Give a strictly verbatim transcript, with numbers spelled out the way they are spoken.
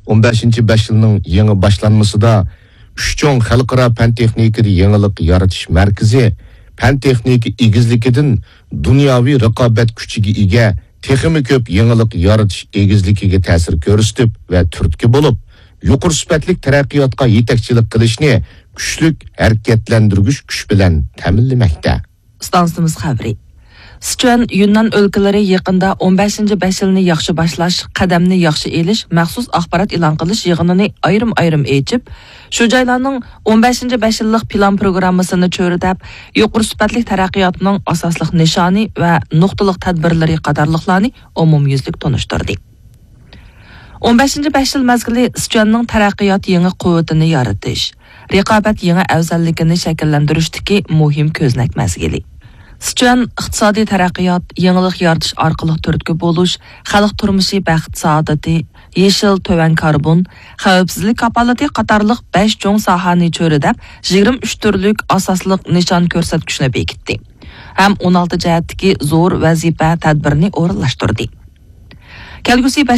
ئون بەشىنچى بەش يىلنىڭ يېڭى باشلانمىسىدا ئۈچ چوڭ خەلقئارا پەن تېخنىكىدا يېڭىلىق يارىتىش مەركىزى پەن تېخنىكا ئېگىزلىكىدىن دۇنياۋى رىقابەت كۈچىگە ئىگە، تېخىمۇ كۆپ يېڭىلىق يارىتىش ئېگىزلىكىگە تەسىر كۆرسىتىپ ۋە تۈرتكە بولۇپ، يۇقىرى سۈپەتلىك تەرەققىياتقا يېتەكچىلىك قىلىشنى كۈچلۈك ھەرىكەتلەندۈرگۈچ كۈچ بىلەن تەمىنلىمەكتە. ئىستانسىمىز خەۋىرى. سىچۈەن، يۈننەن ئۆلكىلىرى يېقىندا ئون بەشىنچى بەش يىلنى ياخشى باشلاش، قەدەمنى ياخشى ئېلىش مەخسۇس ئاخبارات ئېلان قىلىش يىغىنىنى ئايرىم-ئايرىم ئېچىپ، شۇ جايلارنىڭ ئون بەشىنچى بەش يىللىق پىلان پروگراممىسىنى چۆرىدەپ، يۇقىرى سۈپەتلىك تەرەققىياتنىڭ ئاساسلىق نىشانى ۋە نۇقتىلىق تەدبىرلىرى قاتارلىقلارنى ئومۇميۈزلۈك تونۇشتۇردى. ئون بەشىنچى بەش يىل مەزگىلى سىچۈەننىڭ تەرەققىيات يېڭى قۇۋۋىتىنى يارىتىش، رىقابەت يېڭى ئەۋزەللىكىنى شەكىللەندۈرۈشتىكى مۇھىم كۆزنەك مەزگىلى. سىچۈەن ئىقتىسادىي تەرەققىيات، يېڭىلىق يارىتىش ئارقىلىق تۈرتكە بولۇش، خەلق تۇرمۇشى بەخت-سائادىتى، يېشىل، تۆۋەن كاربون، خەۋپسىزلىك كاپالىتى قاتارلىق بەش چوڭ ساھەنى چۆرىدەپ، يىگىرمە ئۈچ تۈرلۈك ئاساسلىق نىشان كۆرسەتكۈچنى بېكىتتى ھەم ئون ئالتە جەھەتتىكى زور ۋەزىپە تەدبىرىنى ئورۇنلاشتۇردى. كەلگۈسى بەش